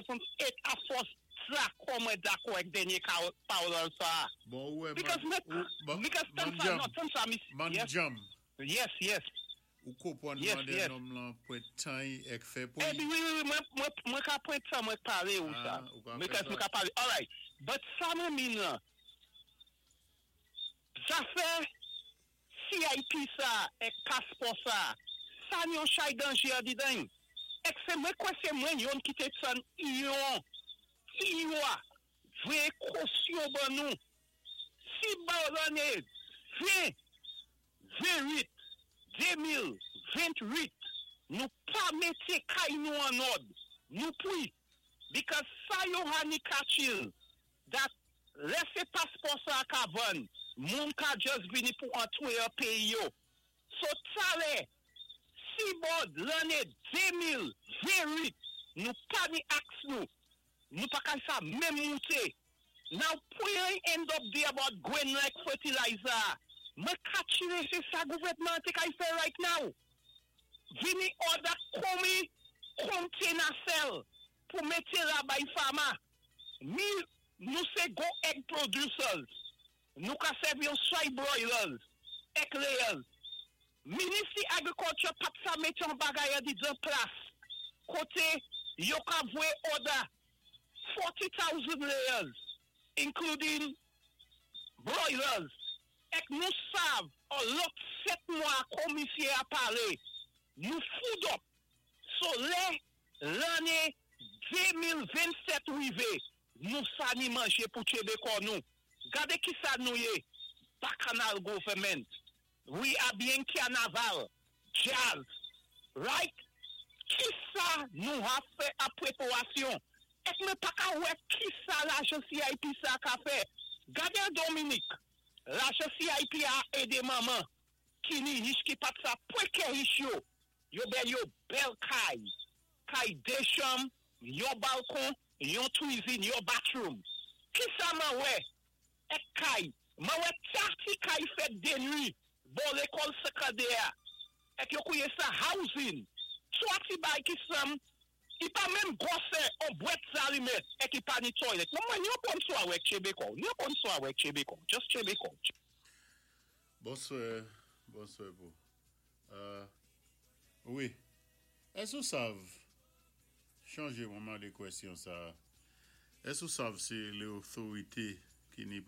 7, 8, a fòs dakò, mwen dakò ak dènyé pawòl sa. Bon, wè, Because man, because tan sa, non, tan sa, miss, Man yes, jam, yes. Ou konpwann Yes. mandé nonm lan pwan tan ek fè pou Eh bi, wi, mwen ka pwan tan mwen palé ou sa. Ah, ou ka fè Because sa. Mwen ka palé. All right. But sa mwen mean lan, zafè CIP sa, ek paspò sa, sa ni yon chay danjé an didan. Ek sé mwen kwè sé mwen yon ki té tann yon, iwa, vwé kosyon ban nou. Si ban lanné 20, 28, 2028, nou pa mété kay nou an òd, nou pwi. Because sa yo hani kachil, that lè sé paspò sa ka vann, moun ka just vini pou antwé an péyi yo. So talè, si bod lanné 2028, nou pa ni aks nou, nou pa kay sa menm mouté. Now, pou yon end up there about gwen like fertilizer, mwen kachile sé sa gouvèdman té kay fè right now. Vini order komi container sell pou mété la bay farmer. Mi, nou sé go egg producers. Nou ka sèvi yon soy broilers, egg layers. Ministry Agriculture pat sa mété yon bagay a di dan plas. Koté yo ka vwé order 40,000 layers, including broilers. Ek nou sav, an lòt 7 mwa komisyé a palé, nou food up. So lè, lanné 2027 rivé, nou sa ni manjé pou tchébé kò nou. Gadé ki sa nou yé, bacchanal government. We are being carnaval, jazz, right? Ki sa nou ha fè a préparasyon? Ek mwen pa ka wè ki sa lajan CIP sa ka fè? Gadé Dominique, lajan CIP a édé manman, ki ni rich ki pat sa pwéké rich yo. Yo bèl yo bèl kay. Kay dé chanm, yon balkon, yon kwizin, yon bathroom. Ki sa mwen wè? Ek kay. Mwen wè tati kay fèt dé nwi, bò lékòl sékondè. Ek yo kwié sa housing. Swa ti bay ki sam, i pa menm gwosè an bwèt zalimèt, ek i pa ni toilet. Non mwen, yon bonswa wèk tchébé kò. Yon bonswa wèk tchébé kò. Just tchébé kò. Bonswè, bonswè pou. Wi, ès ou sav, chanjé mwen mandé kwèsyon sa, ès ou sav sé lé otorité ki ni pou